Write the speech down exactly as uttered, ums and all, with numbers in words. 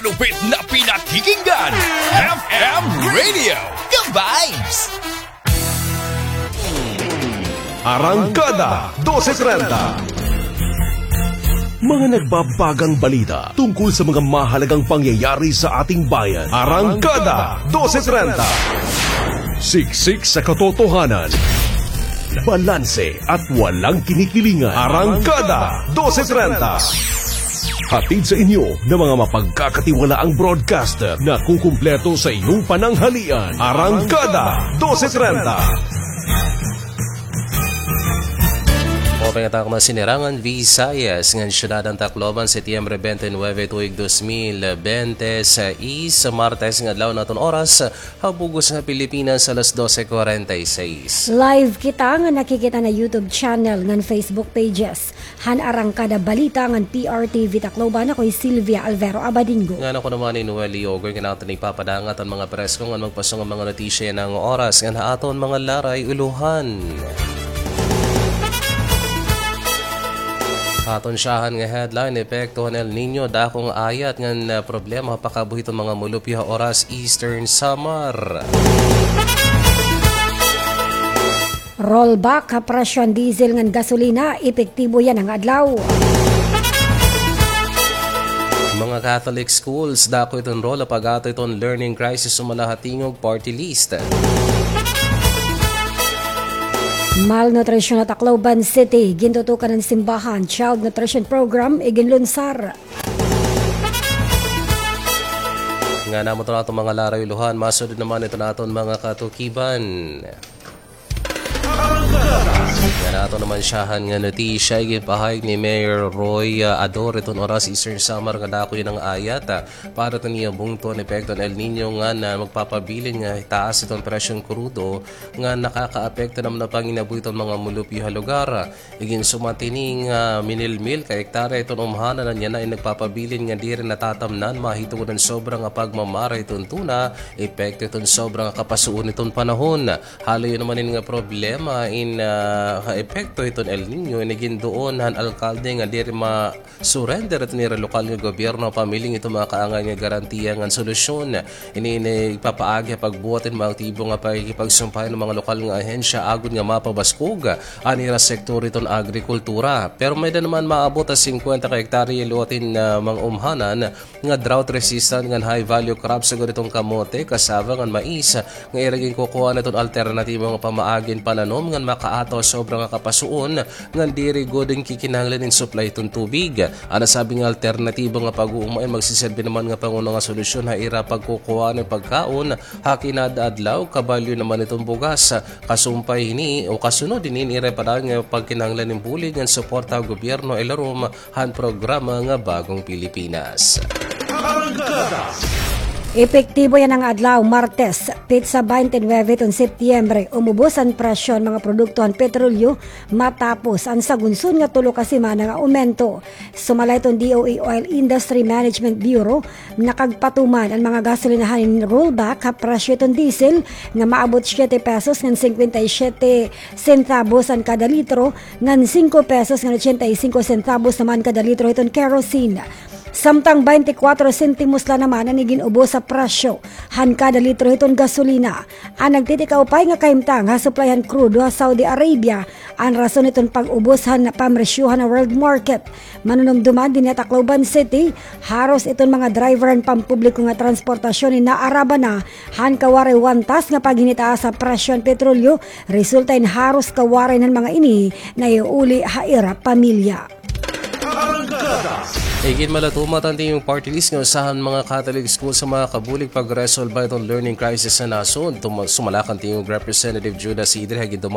Lupit na pinakikinggan, F M Radio, Ka-Vibes! Arangkada dose trenta. Mga nagbabagang balita tungkol sa mga mahalagang pangyayari sa ating bayan. Arangkada dose trenta. Siksik sa katotohanan. Balanse at walang kinikilingan. Arangkada dose trenta. Hatid sa inyo ng mga mapagkakatiwalaang broadcaster na kukumpleto sa inyong pananghalian. Arangkada dose trenta. Open nga ta man sinirangan Visayas ngan syudad han Tacloban, Setyembre twenty-nine, tuig dos mil bente seis, Martes nga adlaw, an aton oras ha bug-os nga Pilipinas, alas dose cuarenta y seis. Live kita nga nakikita na YouTube channel ngan Facebook pages han Arangkada Balita ngan P R T V Tacloban. Ako hi Sylvia Alvero Abadingo. Ngan ako naman hi Noel Leogoy, ngan aton ipapadangat an mga presko ngan magpaso nga mga notisya yana nga oras ngan ha aton mga laray ulohan. Aton syahan nga headline, epekto han El Niño, dako nga ayat ngan, ah, problema ha pakabuhi hiton mga mulupyo ha Oras, Eastern Samar. Rollback ha presyo han diesel ngan gasolina, epektibo yana nga adlaw. Mga Catholic schools, dako iton role ha pag-ato hiton learning crisis, sumala ha Tingog Party List. Malnutrisyon ha Tacloban City, gintutukan han simbahan, Child Nutrition Program, iginlunsar. Ngan amo iton aton mga laray ulohan, masunod naman iton aton mga katukiban. Ngan aton naman syahan nga notisya, iginpahayag ni Mayor Roy, ah, Ador hiton Oras, Eastern Samar, nga dako yana nga ayat, ah, para hiton iya bungto an epekto han El Niño ngan, ah, magpapabilin nga taas iton presyo han krudo ngan nakakaapekto naman ha panginabuhi hiton mga mulupyo ha lugar. Iginsumat hini nga minilmil ka hektarya iton umhanan an yana in nagpapabilin nga diri natatamnan mahitungod han sobra nga pagmamara hiton tuna, epekto hiton sobra nga kapasuon hiton panahon. Haloy naman ini nga problema in, ah, ha epekto hiton El Niño in iginduon han alkalde nga diri ma-surrender iton ira lokal nga gobyerno pamiling iton mga kaangay nga garantiya ngan solusyon. Ini in igpapaagi ha pagbuhat hin mga aktibo nga pakikipagsumpay han mga lokal nga ahensya agod nga mapabaskog an ira sektor hiton agrikultura. Pero may-ada naman maabot ha singkwenta ka hektarya liwat hin, ah, mga umhanan nga drought resistant ngan high value crops, sugad hiton kamote, cassava ngan mais, nga ira ginkukuhaan hiton alternatibo nga pamaagi hin pananom ngan makaataw sobra nga kapasuon ngan diri gud in kikinahanglan hin supply hiton tubig. An nasabi nga alternatibo nga pag-uuma in magsiserbi naman nga panguna nga solusyon ha ira pagkukuhaan hin pagkaon ha kinadadlaw, kabalyo naman hiton bugas. Kasumpay hini o kasunod hini in ira padayon nga pagkinahanglan hin bulig ngan suporta ha gobyerno ilarom han programa nga Bagong Pilipinas. Epektibo yana nga adlaw, Martes, petsa twenty-nine hiton Setyembre, umubos an presyo han mga produkto han petrolyo matapos an sagunsod nga tulo ka semana nga aumento. Sumala hiton D O E Oil Industry Management Bureau, nakagpatuman an mga gasolinahan hin rollback ha presyo hiton diesel nga maabot siyete pesos ngan singkwenta y siyete sentabos an kada litro, ngan singko pesos ngan ochenta y singko sentabos naman kada litro hiton kerosene. Samtang baynte kwatro sentimos la naman an igin-ubos ha presyo han kada litro hiton gasolina. An nagtitikaupay nga kahimtang ha supply han krudo ha Saudi Arabia an rason hiton pag-ubos han pamresyohan ha world market. Manunumduman dinhi ha Tacloban City, haros iton mga driver han pampubliko nga transportasyon in naaraban na han kawaray wantas nga paghinitaas ha presyo han petrolyo, resulta in haros kawaray han mga ini naiuuli ha ira pamilya. Iginmalatumat han Tingog Party List nga usa han mga catalyst school sa mga kabulig pagresolba hiton learning crisis sa nasod. Tuma-, sumala kan Tingog Representative Judas Idre ha gindumara